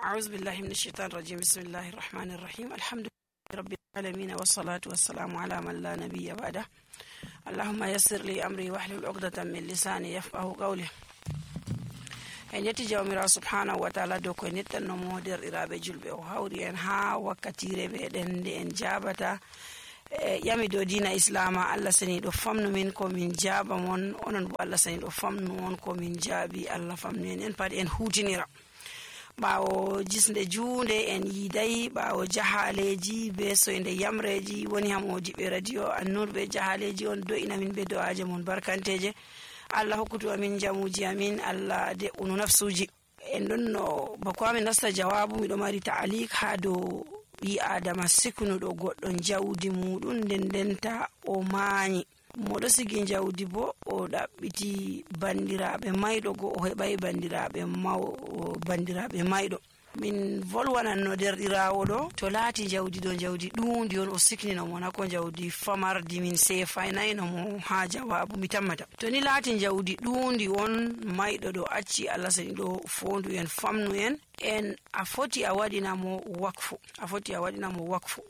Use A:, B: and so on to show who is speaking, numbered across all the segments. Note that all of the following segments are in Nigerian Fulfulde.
A: أعوذ بالله من الشيطان الرجيم. بسم الله الرحمن الرحيم. الحمد لله رب العالمين والصلاة والسلام على من لا نبي بعده. اللهم يسر لي أمري واحلل عقدة من لساني يفقه قولي. en yetti jawmirawo subhanahu wa ta'ala dow ko nettannomo derɗiraɓe julɓe o hawri en ha wakkatire meɗen nde en jabata yami dow dina islama. Allah sani ɗo famnu min ko min jaba mon, onon bo Allah sani ɗo famnu on ko min jaabi. Allah famnu en pat en hutinira ɓawo jisde juunde en yiiday, ɓawo jahaleji be soyde yamreji woni ha modiɓe radio An-Nur be jahaleji on do'ina min be do'aje mon barkanteje. Allah hokkutu amin jamuji amin, Allah de unu nafsuji. En ɗon no bako amin nasta jawabu, miɗo mari ta'alik ha dow ɓi adama siknuɗo goɗɗo jawdi muɗum nden denta o maanyi. Moɗo sigi jawdi bo o ɗaɓɓiti bandiraɓe mayɗo go o heɓai bandiraɓe mayɗo. Min volwananno derɗirawo ɗo to laati jawdi ɗo jawdi ɗundi on o siknino mo na ko jawdi famardi min sefaynayno mo ha jawabu mi tammata. To ni laati jawdi ɗundi on mayɗo ɗo acci, Allah sani ɗo fondu en famnu en a foti a waɗinamo wakfu.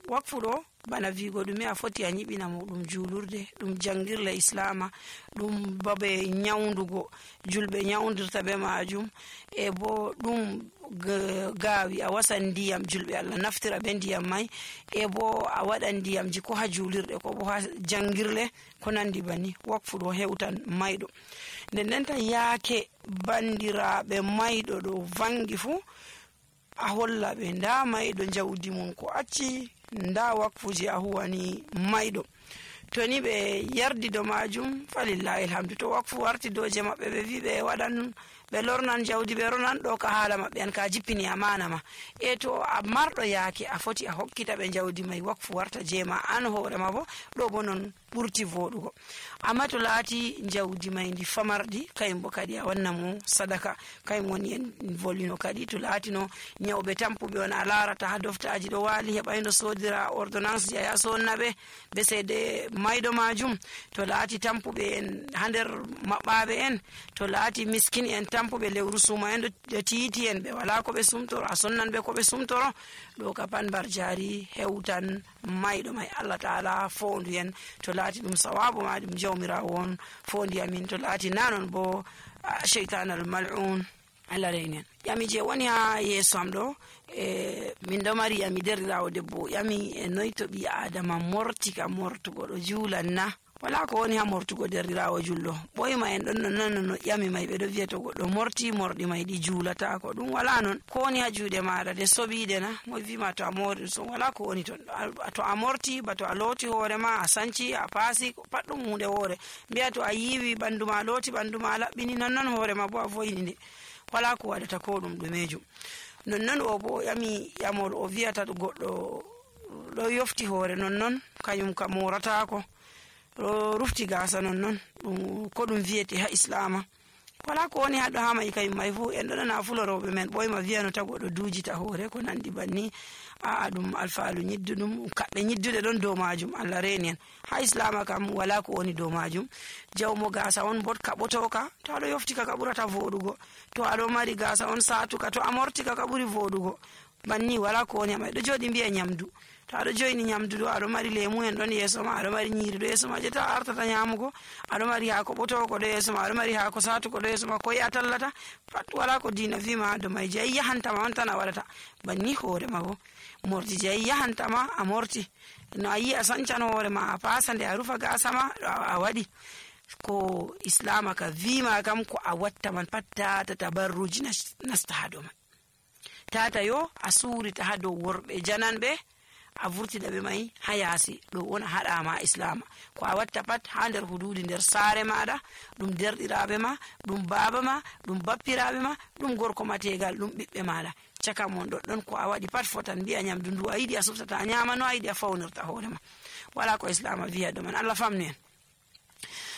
A: Wakfu ɗo bana vigo ɗume a foti a ñiɓinamo ɗum julurde, ɗum jangirle islama, ɗum babe nyawdugo julɓe nyawdirta be majum, e bo ɗum gaawi a wasan ndiyam julɓe Allah naftira be ndiyam mai, e bo a waɗan ndiyamji ko ha julirɗe ko bo ha jangirle ko nandi bani. Wakfu ɗo hewtan mayɗo. Nden denta yaake bandiraɓe mayɗo ɗo vangi fu a holla ɓe nda mayɗo jawdi mum ko acci, nda wakfuji a huwani mayɗo. To ni ɓe yardi do majum falillahi alhamdu. To wakfu warti doje maɓɓe ɓe vi ɓe waɗan ɓe lornan jawdi ɓe ronan ɗo ka haala maɓɓe an ka jippini amana ma. E to a marɗo yaake a foti a hokkita ɓe jawdi mai wakfu warta jema an hoorema bo ɗo bo non ɓurti voɗugo. Amma to laati jawdi mai ndi famardi kayum bo kadi a wanna mo sadaka. Kayum woni en volino kadi to laatino nyawɓe tampuɓe on a larata ha doftaji ɗo waali heɓayno sodira ordonnance ji a ya sonnaɓe be seede mayɗo majum. To laati tampuɓe en ha nder maɓɓaɓe en, to laati miskin en tampuɓe lewru suma en ɗo tiiti en ɓe wala ko ɓe sumtoro, a sonnan ɓe ko ɓe sumtoro. ɗo ka pan bar jari hewtan mayɗo mai. Allah ta'ala fondu en to laati ɗum sawabu ma ɗum jawmirawo on fondi amin, to laati nanon bo shaytan al mal'un Allah reynen. Yami je woni ha yeso am ɗo min ɗo mari yami derɗirawo debbo yami e noy to ɓi adama mortika mortugo ɗo juulan na. Wala ko woni ha mortugo derɗirawo julɗo. Ɓoyma en ɗon no yami mai ɓeɗo wiya to goɗɗo morti morɗi mai ɗi juulata ko ɗum wala non. Ko woni ha juuɗe maɗa de soɓiɗe na mo wima to a mori so wala ko woni ton. To a morti ba to a looti hoore ma, a sanci, a paasi, pat ɗum hunde hoore. Mbiya to a yiwi ɓandu ma looti, ɓandu ma laɓɓini, nonnon hoore ma bo a voyini nde. Wala ko waɗata ko ɗum ɗumejum. Nonnon o bo yamol o wiyata goɗɗo ɗo yofti hoore nonnon kañum ka moratako. Rufti gasa nonnon ɗum ko ɗum wiyete ha islama. Wala ko woni haɗo ha mai kayum mai fu en ɗo nana fuloroɓe men ɓoyma wiyano ta goɗɗo duujita hoore ko nandi banni. Ɗum alfaalu ñidduɗum kaɓɓe ñidduɗe ɗon dow majum Allah reni en. Ha islama kam wala ko woni dow majum. Jawmo gasa on bot kaɓotoka, to aɗo yoftika ka ɓurata voɗugo. To aɗo mari gasa on satuka, to a mortika ka ɓuri voɗugo. Banni wala ko woni amai ɗo joɗi mbiya nyamdu. To aɗo joyni nyamdu ɗo aɗo mari lemu en ɗon yeso ma, aɗo mari nyiri ɗo yeso ma je ta artata nyamugo, aɗo mari haako ɓotoko ɗo yeso ma, aɗo mari haako satuko ɗo yeso ma, ko a tallata pat wala ko dina wima ha dow mai. Je yahantama on tan a waɗata banni hoore ma bo morti je yahantama a morti. No a yi a sancan hoore ma a pasa nde a rufa gasa ma a waɗi ko islama ka wima kam ko a watta man pat tata tabarruji nasta ha dow man. Tata yo a surita ha dow worɓe jananɓe a vurtida ɓe mai ha yaasi ɗo wona haɗama islama. Ko a watta pat ha nder hududi nder saare maɗa, ɗum derɗiraɓe ma, ɗum baba ma, ɗum bappiraɓe ma, ɗum gorko ma tegal, ɗum ɓiɓɓe maɗa. Caka mon ɗoɗɗon ko a waɗi pat fotan mbiya nyamdu ndu a yiɗi a suftata a nyama, no a yiɗi a fawnirta hoore ma. Wala ko islama wiya ɗo man. Allah famnu en.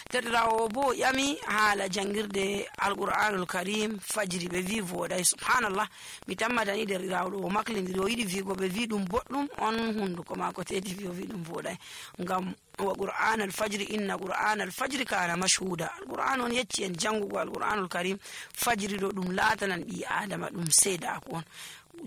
A: Derɗirawo bo yami haala jangirde alqur'anul karim fajiri ɓe wi voɗay. Subhanallah, mi tammatani derɗirawo ɗo o maklidiri o yiɗi wigo ɓe wi ɗum boɗɗum on hunduko mako tedi wi o wi ɗum voɗay. Ngam wa qur'an al fajri inna qur'an al fajri kana mashhuda. Alqur'an on yecci en jangugo alqur'anul karim fajiri ɗo ɗum latanan ɓi adama ɗum seedako on.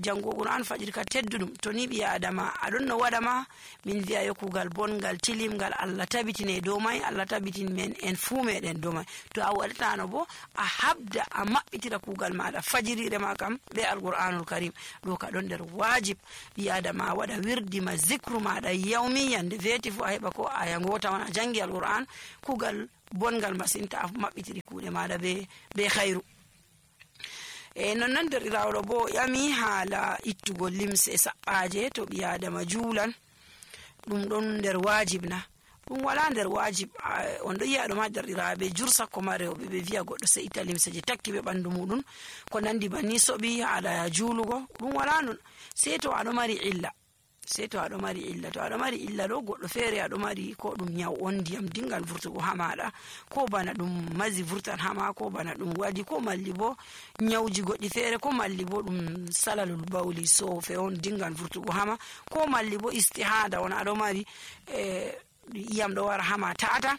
A: jango Qur'an fajiri ka teddudum to ni bi adama adon no wada ma min wi'a yo kugal bongal tilimgal Allah tabitine do mai Allah tabitin men en fu meden do mai to a wadata no bo a habda a mabbitira kugal maada fajiri re ma kam be alqur'anul karim do ka don der wajib bi adama wada wirdi ma zikru maada yawmi yande veti fu a heba ko aya ngota wana jangi alqur'an kugal bongal masinta a mabbitiri kuude maada be khairu non der rawdo bo yami hala ittugo limse sabbaaje to bi adama juulan dum don der wajib na dum wala der wajib on do yi'a do ma der irabe jursa ko marewbe be viya goddo se ita limse je takki be bandu mudun ko nandi banni sobi hala juulugo dum wala non se to ado mari illa to ado mari illa do goddo fere ado mari ko dum nyaw on diyam dingal vurtugo hamada ko bana dum mazi vurtan hama ko bana dum wadi ko malli bo nyawji goddi fere ko malli bo dum salalul bawli so fe on dingal vurtugo hama ko malli bo istihada on ado mari yam do wara hama taata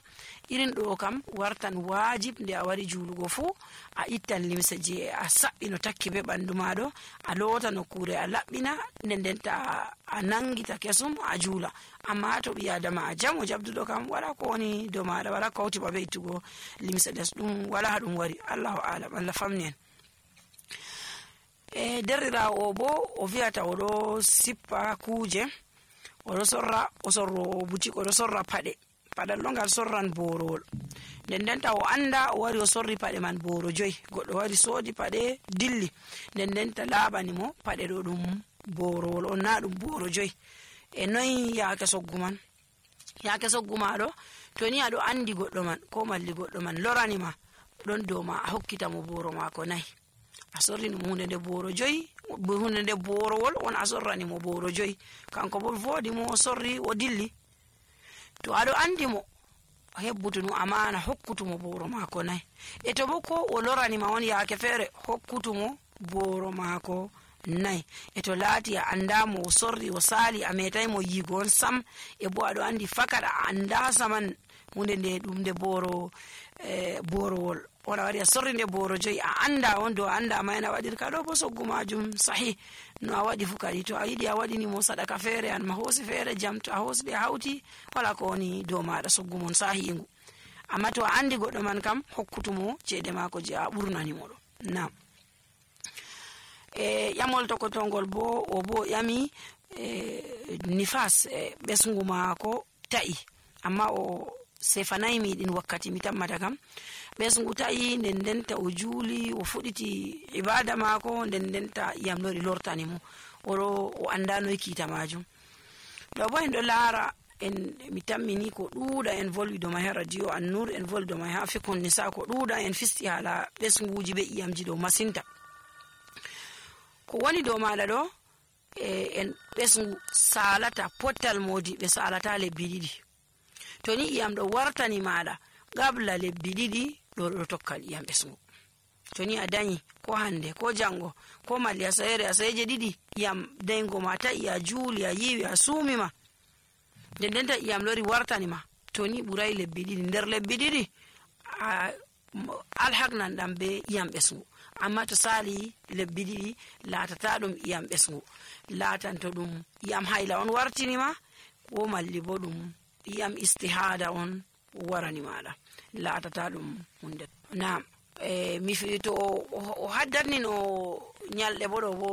A: irin do kam wartan wajib nde a wari juulugo fu a ittan limse je a sabbino takki be bandu maado a lota no kure a labbina ndenta a nangita kesum a juula amma to bi adama a jamo jabdudo kam wala ko woni do maada wala kawti babe ittugo limse des dum wala dum wari Allahu a'lam Allah famnen derira o bo o viata o do sippa kuje o do sorro boutique o do sorra pade padal longal sorran borowol ndenta o anda o wari o sorri pade man boro joy goddo wari sodi pade dilli ndenta labani mo pade do dum borowol on na dum boro joy e noy yaake sogguma do to ni ado andi goddo man ko malli goddo man lorani ma don do ma a hokkita mo boro mako nay a sorri no hunde de boro joy hunde de borowol on a sorrani mo boro joy kanko bo vodi mo o sorri o dilli to ado andi mo hebbutunu amana hokkutumo boro mako nay e to bo ko o lorani ma on yaake fere hokkutumo boro mako nay e to laati a anda mo o sorri o sali a metai mo yigo on sam e bo ado andi fakada anda saman hunde de dum de borowol ona wari a sorri de boro joy a anda on do anda mayna wadir ka do bo soggumajum sahih no a wadi fukadi to a yidi a wadi ni mo sadaka fere an ma hosi fere jam to a hosi de hauti wala ko ni do maada soggumon sahiingu amma to andi goddo man kam hokkutumo cede mako je a burnani mo do na yamol to ko tongol bo o bo yami nifas besngu mako ta'i amma o sefanai mi din wakkati mi tammata kam besngu ta'i ndenta o juuli o fuditi ibada mako ndenta yam lori lortani mo o andano kita majum do bo en do lara en mi tammini ko duuda en volwi do ma radio An-Nur en volwi do ma fikon nisa ko duuda en fisti hala besnguji be iyamji do masinta ko woni do mala do en besngu salata potal modi be salata le bididi to ni iyam do wartani mada gabla le bididi do tokkal iyam besngu to ni adani ko hande ko jango ko mali asayeje didi iyam dengo mata iya julia yiwi asumi ma dendenta iyam lori wartani ma to ni buray le bididi nder le bididi alhaqnan dambe iyam besngu amma to sali lebbi ɗiɗi laatata ɗum iyam ɓesngu laatanto ɗum iyam hayla on wartini ma ko malli bo ɗum iyam istihada on warani maɗa laatata ɗum hunde nam mi fi to o haddatni no nyalɗe bo ɗo bo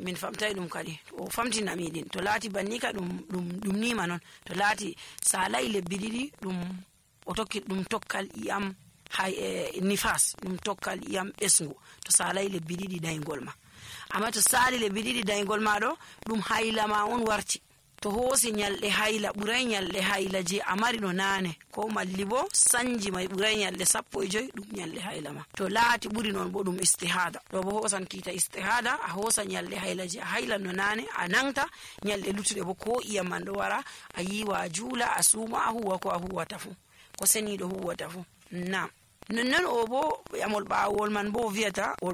A: min famtay ɗum kadi o famtinami ɗin to laati banni ka ɗum nima non to laati salay lebbi ɗiɗi ɗum o tokki ɗum tokkal iyam hay nifas ɗum tokkal iyam ɓesngu to salay lebbi ɗiɗi daygol ma amma to sali lebbi ɗiɗi daygol ma ɗo ɗum hayla ma on warti to hoosi nyalɗe hayla ɓuray nyalɗe hayla je a mari no nane ko malli bo sanji may ɓuray nyalɗe 15 ɗum nyalɗe hayla ma to laati ɓuri non bo ɗum istihada ɗo bo hosan kiita istihada a hoosa nyalɗe hayla je a hayla no nane a nangta nyalɗe luttuɗe bo ko iyam man ɗo wara a yiwa a juula a suuma a huwa ko a huwata fu ko seniɗo huwata fu nam non o bo yamol ɓawol man bo viyata o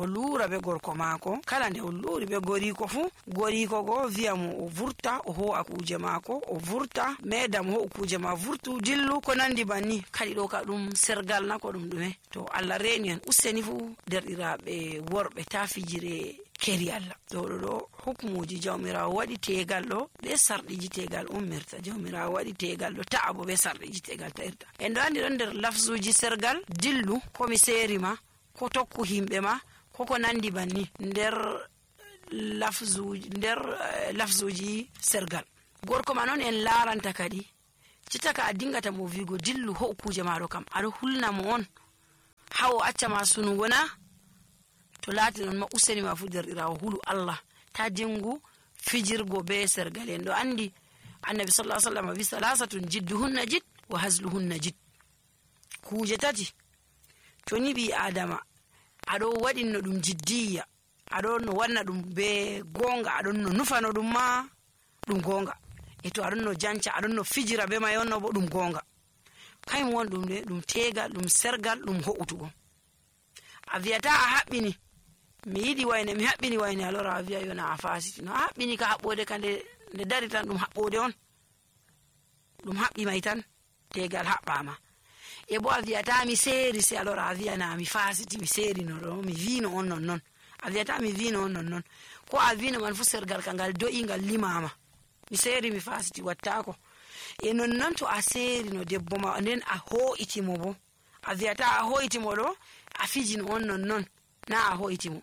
A: luura be gorko maako kala nde o luuri be goriko fu goriko go wiyamo o vurta o ho akuje maako o vurta medam ho kuje ma vurtu dillu ko nandi banni kadi ɗo ka ɗum sergal na ko ɗum ɗume to Allah reeni en useni fu derɗiraɓe worɓe ta fijire keri Allah. ɗo hukmuji jawmirawo waɗi tegal ɗo be sarɗiji tegal ummirta. jawmirawo waɗi tegal ɗo ta'a bo be sarɗiji tegal ta'irta. en ɗo andi ɗon nder lafzuji sergal dillu ko mi seri ma ko tokku himɓe ma ko nandi banni nder lafzuji sergal. gorko ma non en laranta kadi cittaka a dingata mo vigo dillu ho kuje maɗo kam aɗo hulna mo on hawo acca ma sunugo na to laati non ma useni ma fu derɗirawo hulu Allah ta dingu fijirgo be sergal. en ɗo andi annabi sallallahu alaihi wasallam wi salasatun jidduhunna jid wa hazluhunna jid. kuje tati to ni bi adama aɗo waɗinno ɗum jiddiya, aɗon no wanna ɗum be gonga, aɗon no nufano ɗum ma ɗum gonga, e to aɗon no janca aɗon no fijira be may onno bo ɗum gonga. kayum won ɗum de ɗum tegal ɗum sergal ɗum ho'utugo. a wiyata a haɓɓini mi yiɗi wayne mi haɓɓini wayne alora a wiya yona a fasiti no a haɓɓini ka haɓɓode ka nde dari tan ɗum haɓɓode on ɗum haɓɓi may tan tegal haɓɓama. e bo a wiyata mi seeri se alora a wiyana mi fasiti mi seerino ɗo mi wino on non a wiyata mi wino on non ko a wino man fu sergal ka ngal do'i ngal limama mi seeri mi fasiti wattako. e non to a seerino debbo ma nden a ho'itimo bo a wiyata a ho'itimo ɗo a fijino on non na a ho'itimo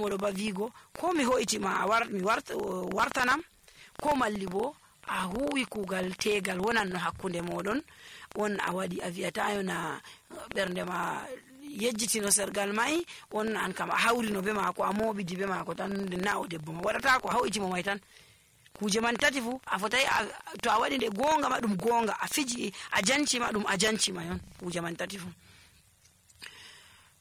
A: ɗo ba wigo ko mi ho'itima mi wartanam ko malli bo a huwi kugal tegal wonan no hakkunde moɗon on a waɗi. a wiyata yona ɓernde ma yejjitino sergal mai on an kam a hawrino be mako a moɓidi be mako tan na o debbo ma waɗata ko a ho'itimo mai tan. kuje man tati fu a fotai to a waɗi nde gonga ma ɗum gonga, a fiji a jancima ɗum a jancima yon kuje man tati fu.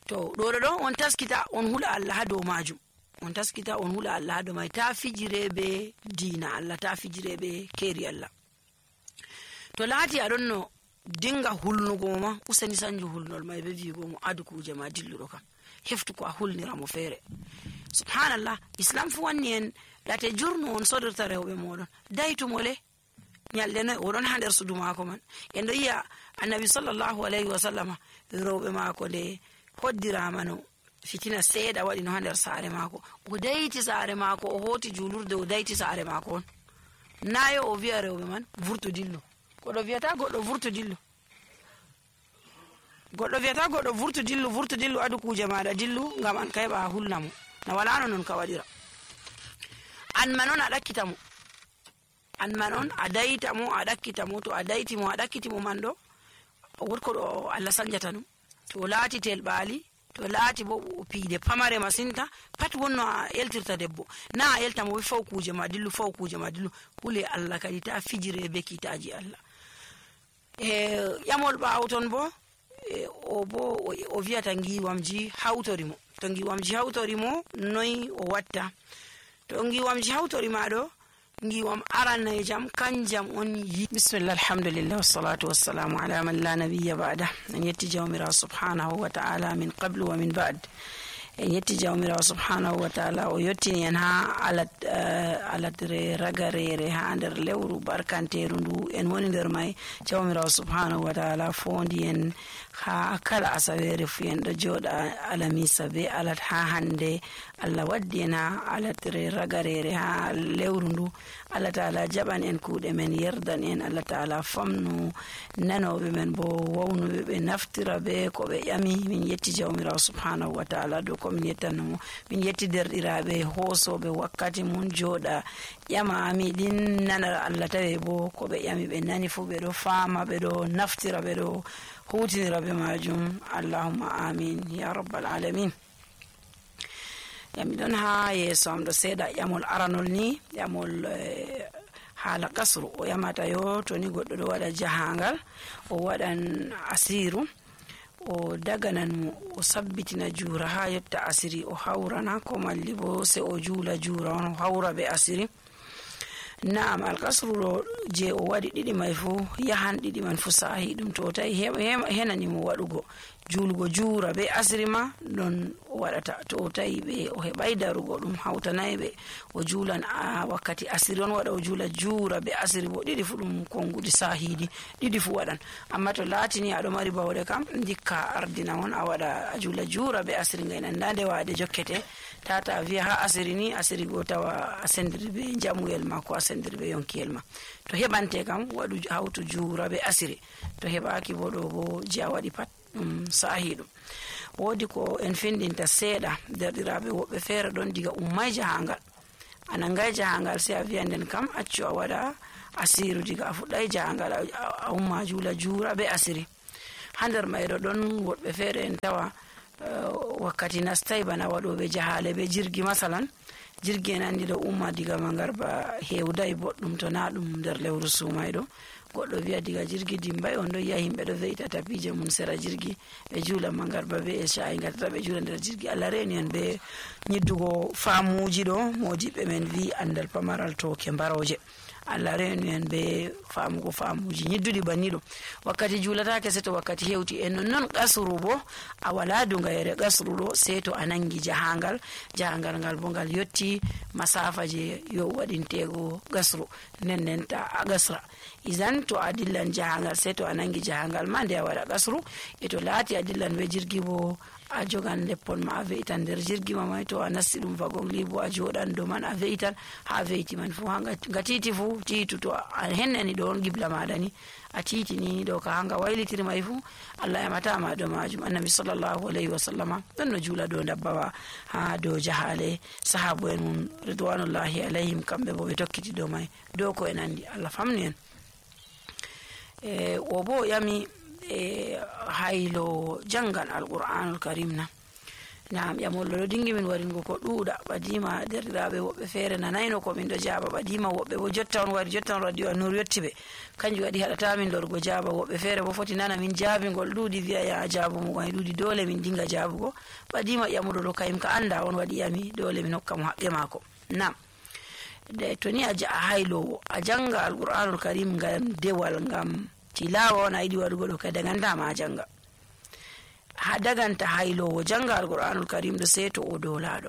A: to ɗo on taskita on hula Allah ha dow majum, on taskita on hula Allah ha dow mai ta fijire be dina Allah, ta fijire be keri Allah. to laati aɗon no dinga hulnugo ma useni sanju hulnol mai be wigo mo adu kuje ma dilluɗo kam heftu ko a hulnira mo feere. subhanallah, islam fu wanni en late jurnu on sodirta rewɓe moɗon daytumo le nyalde noy oɗon ha nder sudu mako man. en ɗo yiya annabi sallallahu alayhi wa sallama rewɓe mako nde hoddirama no fitina seeɗa waɗi no ha nder saare mako o dayti saare mako o hoti julurde o dayti saare mako on nayo o wiya rewɓe man vurtu dillu. goɗɗo wiyata goɗɗo vurtu dillu adu kuje maɗa dillu ngam an ka heɓa hulnamo na walano non ka waɗira. an man on a ɗakkita mo, an man on a dayta mo a ɗakkita mo. to a dayti mo a ɗakkiti mo man ɗo wotko ɗo Allah sanjata ɗum. to laati telɓali, to laati bo piide pamare masinta pat wonno a eltirta debbo na a elta mo faw kuje ma dillu hule Allah kadi ta fijire be kitaji Allah. ƴamol ɓaawo ton bo o wiyata ngiwamji hawtorimo. to ngiwamji hawtorimo noy o watta? to ngiwamji hawtorima ɗo ngiwam arannaye jam kanjam on yi. bismillah, alhamdulillah, wassalatu wassalamu ala man la nabiyya ba'da. en yetti jawmirawo subhanahu wa ta'ala min qablu wa min ba'd. en yetti jawmirawo subhanahu wa ta'ala o yettini en ha aladre ragarere ha nder lewru barkanteru ndu en woni nder mai. jawmirawo subhanahu wa ta'ala fondi en ha kala asawere fu en ɗo joɗa alamisa be alat ha hande. Allah waddi en ha aladre ragarere ha lewru ndu. Allah ta'ala jaɓan en kuuɗe men, yerdan en. Allah ta'ala famnu nanoɓe men bo wawnuɓe ɓe naftira be ko ɓe ƴami. min yetti jawmirawo subhanahu wa ta'ala dow komin yettanomo. min yetti derɗiraɓe hoosoɓe wakkati mum joɗa ƴama miɗin nana Allah tawe bo ko ɓe ƴami ɓe nani fu ɓe ɗo fama, ɓe ɗo naftira, ɓe ɗo hutinira be majum. allahumma amin ya rabbal alamin. yami ɗon ha yeeso am ɗo seeɗa ƴamol aranol ni ƴamol haala kasru. o ƴamata yo to ni goɗɗo ɗo waɗa jahangal o waɗan asiru o daganan mo o sabbitina juura ha yotta asiri o hawrana ko malli bo se o juula juura on o hawra be asiri. Naam, alkasru ɗo je o waɗi ɗiɗi mai fu yahan ɗiɗi man fu sahi ɗum to tawi henani mo waɗugo julgo juura be asiri ma non o waɗata. To o tawi ɓe o heɓay darugo ɗum hawtanayi ɓe o juulan wakkati asiri on waɗa o juula juura be asiri bo ɗiɗi fu ɗum konngudi sahiidi ɗiɗi fu waɗan. Amma to laatini aɗo mari bawɗe kam dikka ardina on a waɗa a juula juura be asiri ngay nanda nde waade jokkete tata wiya ha asiri ni asiri go tawa a sendiri be jamuyel ma ko a sendiri be yonkiyel ma. To heɓante kam waɗu hawtu juura be asiri, to heɓaki bo ɗo bo je a waɗi pat ɗum sahi ɗum. Woodi ko en findinta seeɗa derɗiraɓe woɓɓe feere ɗon diga ummay jahangal a nangay jahangal sey a wiya nden kam accu a waɗa asiru diga a fuɗɗay jahangal a umma juula juura be asiri. Ha nder mayɗo ɗon woɓɓe feere en tawa wakkati nastay bana waɗoɓe jahale be jirgi masalan, jirgi en andi ɗo umma diga mangarba hewday boɗɗum to na ɗum nder lewru sumayɗo, goɗɗo wiya diga jirgi dimbay on ɗo yiya himɓe ɗo ve'ita tapije mum sera jirgi ɓe juula mangarba be e sha'i gatata ɓe juula nder jirgi. Allah reni en be nyiddugo faamuji ɗo modiɓɓe men wi andal pamaral toke mbaroje. Allah reni en be faamugo faamuji nyidduɗi banni ɗo. Wakkati juulatake se to wakkati hewti en non gasru bo a wala dungayere gasru ɗo se to a nangi jahangal ngal bo ngal yotti masafa je yo waɗintego gasru nden ta a gasra. Izan to a dillan jahangal se to a nangi jahangal ma nde a waɗa gasru, e to laati a dillan be jirgi bo a jogan leppol ma a ve'itan nder jirgi ma mai, to a nasti ɗum wagongli bo a joɗan dow man a ve'itan ha ve'iti man fu nga titi fu tiitu to a hennani ɗo on gibla maɗa ni a titini ɗo ka hanga waylitiri mai fu Allah yamatama ɗo majum. Annabi sallallahu alayhi wa sallama ɗon no juula dow dabbawa ha dow jahale, sahabu en mum ridwanullahi alayhim kamɓe bo ɓe tokkiti dow mai dow ko en andi. Allah famni en. O bo yami haylo jangal alqur'anul karim na ƴamollo ɗo dingi min waringo ko ɗuuɗa ɓadima derɗiraɓe woɓɓe feere nanayno ko min ɗo jaaba ɓadima woɓɓe bo jotta on wari jotta on radio annur yetti ɓe kanjum waɗi haɗata min lorgo jaaba. Woɓɓe feere bo foti nana min jaabigol ɗuuɗi wiya ya jaabumo gay ɗuuɗi dole min dinga jaabugo. ɓadima ƴamuɗo ɗo kayim ka anda on waɗi yami dole min hokka mo haqqe maako. Nam to ni a haylowo a janga alqur'anul karim ngam dewal ngam tilawa on a yiɗi waɗugo ɗo kay dagantama a janga. Ha daganta haylowo janga alqur'anul karim ɗo sei to o dolaɗo.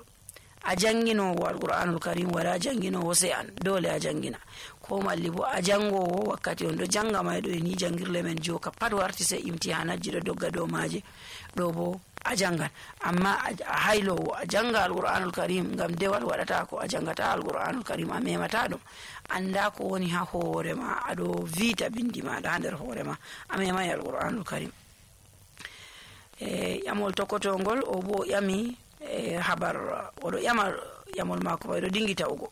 A: A janginowo alqur'anul karim wala janginowo sei an dole a jangina, ko malli bo a jangowo wakkati on ɗo janga may ɗo e ni jangirle men joka pat warti sei imtihanajji ɗo dogga dow maje ɗo bo a jangan. Amma a haylowo a janga alqur'anul karim ngam dewal waɗata ko a jangata alqur'anul karim a memata ɗum anda ko woni ha hoore ma aɗo vita bindi maɗa ha nder hoore ma a memay alqur'anul karim. Ƴamol tokotongol o bo ƴami habar oɗo ƴama ƴamol mako ɓayɗo dingi tawugo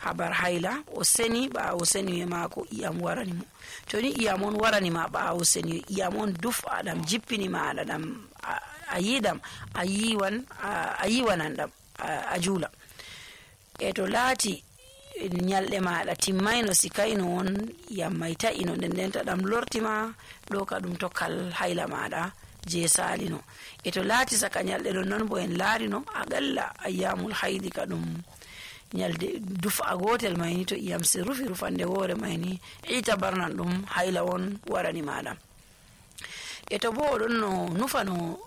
A: habar hayla o seni ɓawo seni mako iyam warani mo. To ni iyam on warani ma ɓawo seni iyam on dufa ɗam jippini maɗa ɗam a yiɗam a yiwanan ɗam a juula. E to laati nyalɗe maɗa timmayno sikayno on iyam may ta'ino ndenta ɗam lortima ɗo ka ɗum tokkal hayla maɗa je salino. E to laati saka nyalɗe ɗon non bo en laarino aƙalla ayyamul haydi ka ɗum nyalde dufa gotel mayni to iyam se rufi rufande woore mayni ita barnan ɗum hayla on warani maɗa. E to bo oɗon no nufano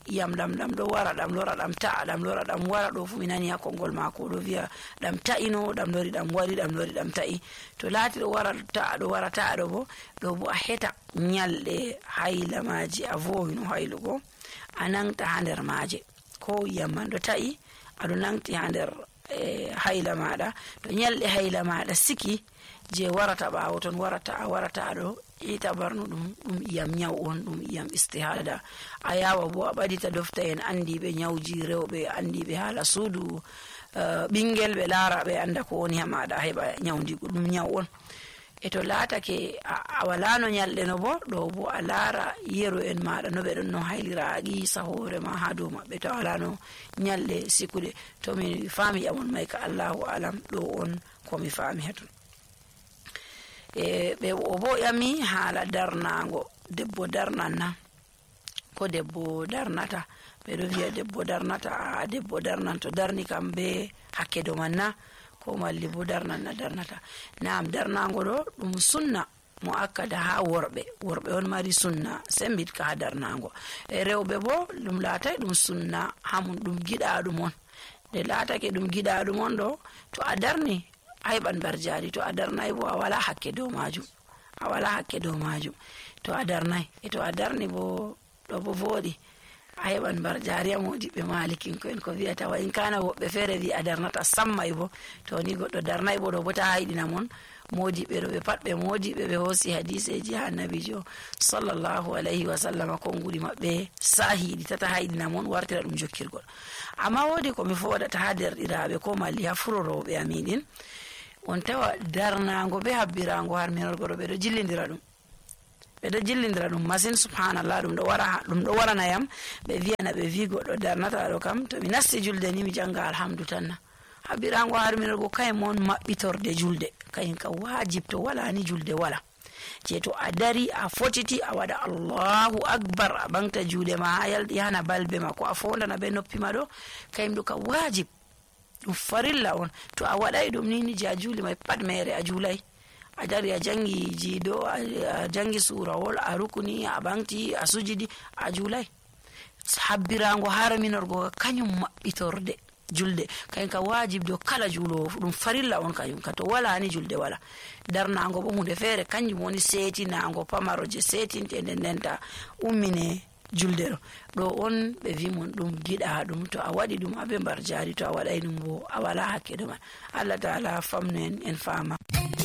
A: iyam ɗam ɗo wara ɗam lora ɗam ta'a ɗam lora ɗam wara ɗo fu mi nani ha konngol mako ɗo wiya ɗam ta'ino ɗam lori ɗam wari ɗam lori ɗam ta'i. To laati ɗo wara ta'a ɗo wara ta'a ɗo bo a heta nyalɗe hayla maji a vowino haylugo a nangta ha nder maje ko iyam man ɗo ta'i aɗo nangti ha nder hayla maɗa. To nyalɗe hayla maɗa siki je warata ɓawo ton warata ɗo ita barno ɗum iyam nyaw on ɗum iyam istihada. A yawa bo a ɓadita dofta en andiɓe nyawji rewɓe andiɓe haala suudu ɓingel ɓe laara ɓe anda ko woni ha maɗa heɓa nyawdigu ɗum nyaw on. E to laatake a walano nyalɗe no bo ɗo bo a laara yero en maɗa no ɓe ɗon no haylira a qisa hoore ma ha dow maɓɓe to walano nyalɗe sikuɗe. To mi faami ƴamon may ka Allahu alam ɗo on komi faami hatun. Ɓe o bo ƴami haala darnago debbo darnanna ko debbo darnata. Ɓe ɗo wiya debbo darnata a debbo darnan to darni kam be hakke do man na ko malli bo darnanna darnata. Naam darnago ɗo ɗum sunna mo akkada ha worɓe on mari sunna sembitka ha darnago e rewɓe bo ɗum laatay ɗum sunna hamum ɗum giɗaɗum on nde laatake ɗum giɗaɗum on ɗo to a darni a heɓan barjari to a darnay bo a wala hakke dow majum to a darnay to a darni bo ɗo bo voɗi a heɓan barjari a modiɓɓe malikinko en ko wiyata wa in kana woɓɓe feere wi a darnata sammay bo to ni goɗɗo darnay bo ɗo bo ta hayɗina mon modiɓɓe ɗo ɓe pat ɓe modiɓɓe ɓe hoosi hadiseji ha annabijo sallallahu alayhi wa sallam konguɗi maɓɓe sahiɗi tata hayɗina mon wartira ɗum jokkirgol. Amma woodi komi foɗata ha derɗiraɓe ko malli ha furoroɓe amiɗin on tawa darnago be habbirago harminorgo ɗo ɓeɗo jillidira ɗum masin subhanallah ɗum ɗo waranayam ɓe wiyana ɓe wi goɗɗo darnata ɗo kam to mi nasti julde ni mi janga alhamdu tanna. Habbirago harminorgo kayen mon maɓɓitorde julde kayen ka wajib to wala ni julde wala je to a dari a fotiti a waɗa allahu akbar a ɓamta juuɗe ma ha yalɗi hana balbe ma ko a fondana be noppi ma ɗo kayum ɗo ka wajib ɗum farilla on to a waɗay ɗum ni je a juuli may pat mere a juulay a dari a jangi jiiɗo a jangi surawol a rukuni a ɓamti a sujidi a juulay. Habbirago harminorgo kañum maɓɓitorde julde kayen ka wajib do kala juulowo ɗum farilla on kañum ka to wala ni julde wala. Darnago bo hunde feere kanjum woni setinago pamaro je setinte nden ndenta ummine julde ɗo on ɓe wimon ɗum giɗa ɗum to a waɗi ɗum aɓe mbar jari to a waɗay ɗum bo a wala hakke ɗo man. Allah ta'ala famnu en fama.